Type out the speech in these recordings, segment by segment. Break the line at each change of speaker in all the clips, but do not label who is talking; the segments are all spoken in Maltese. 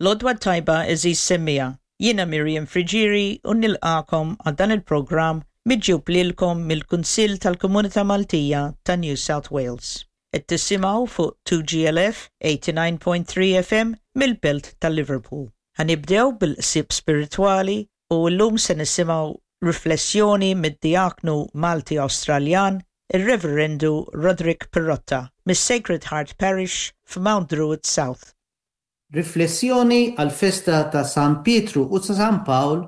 L-għodwa t-tajba għeżież semmiegħa, jiena Miriam Friggieri u nilqagħkom għal dan il-programm miġjub lilkom mill-Kunsill tal-Komunità Maltija ta' New South Wales. Qed tisimgħu fuq 2GLF 89.3 FM mill-belt ta' Liverpool. Ħa nibdew bil-qsieb spiritwali u llum se nisimgħu riflessjoni mid-Dijaknu Malti-Awstraljan ir-Reverendu Roderick Pirotta mis-Sacred Heart Parish f'Mount Druitt South.
Riflessjoni għall-festa ta' San Pietru u ta' San Pawl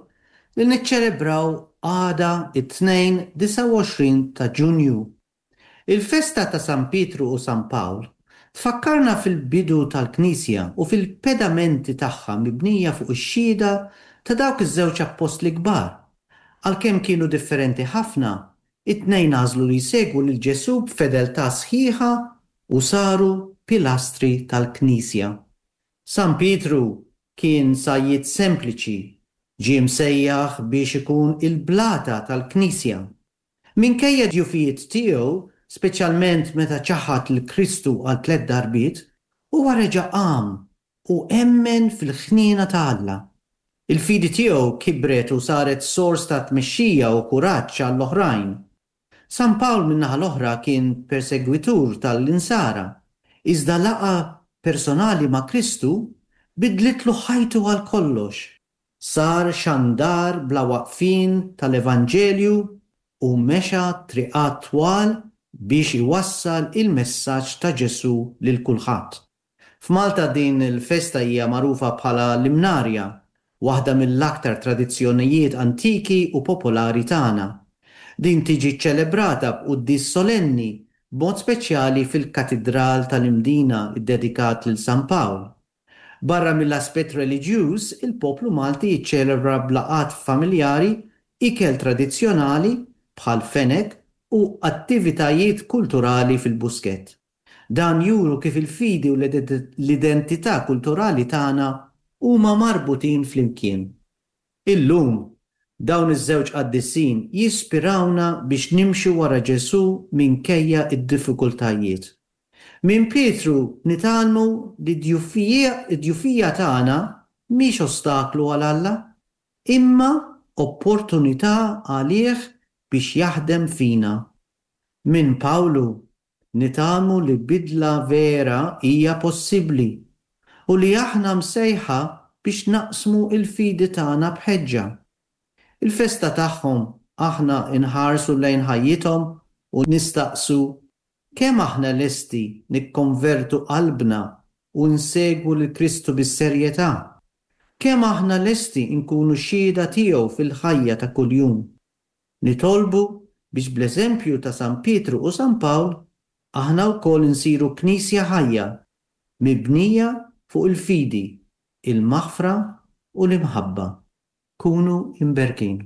li niċċelebraw għada t-Tnejn 29 ta' Ġunju. Il-festa ta' San Pietru u San Pawl tfakkarna fil-bidu tal-Knisja u fil-pedamenti tagħha mibnija fuq ix-xhieda ta' dawk iż-żewġ appostli kbar. Għalkemm kienu differenti ħafna, it-tnejn għażlu li jsegwu lil Ġesù b'fedeltà sħiħa u saru pilastri tal-Knisja. San Pietru kien sajjied sempliċi, ġie msejjaħ biex ikun il-blata tal-Knisja. Minkejja d-djufijiet tiegħu, speċjalment meta ċaħad lil Kristu għal tlett darbiet, huwa reġa' qam u emmen fil-ħniena ta' Alla. Il-fidi tiegħu kibret u saret sors ta' tmexxija u kuraġġ għall-oħrajn. San Pawl min-naħa l-oħra kien persegwitur tal-Insara, iżda laqgħa personali ma' Kristu bidlitlu ħajtu għal kollox. Sar xandar bla waqfien tal-Evanġelju u mexa triqat twal biex iwassal il-messaġġ ta' Ġesù lil kulħadd. F'Malta din il-festa hija magħrufa bħala l-Imnarja, waħda mill-aktar tradizzjonijiet antiki u popolari tagħna. Din tiġi ċċelebrata b'quddies solenni, b'mod speċjali fil-Katidral tal-Imdina ddedikat lil San Pawl. Barra mill-aspett reliġjuż, il-poplu Malti jiċċelebra b'laqgħat familjari, ikel tradizzjonali, bħal fenek, u attivitajiet kulturali fil-Buskett. Dan juru kif il-fidi u l-identità kulturali tagħna huma marbutin flimkien. Illum, dawn iż-żewġ qaddisin jispirawna biex nimxu wara Ġesù minkejja d-diffikultajiet. Minn Pietru nitgħallmu li d-djufija tagħna mhix ostaklu għal Alla, imma opportunità għalih biex jaħdem fina. Minn Pawlu Nitgħallmu li bidla vera hija possibbli u li aħna msejħa biex naqsmu l-fidi tagħna b'ħeġġa. Il-festa tagħhom aħna nħarsu lejn ħajjithom u nistaqsu, kemm aħna lesti nikkonvertu qalbna u nsegwu lil Kristu bis-serjetà? Kemm aħna lesti nkunu xhieda tiegħu fil-ħajja ta' kuljum? Nitolbu biex bl-eżempju ta' San Pietru u San Pawl aħna wkoll insiru Knisja ħajja, mibnija fuq il-fidi, il-maħfra u l-imħabba. Kunu imberkin.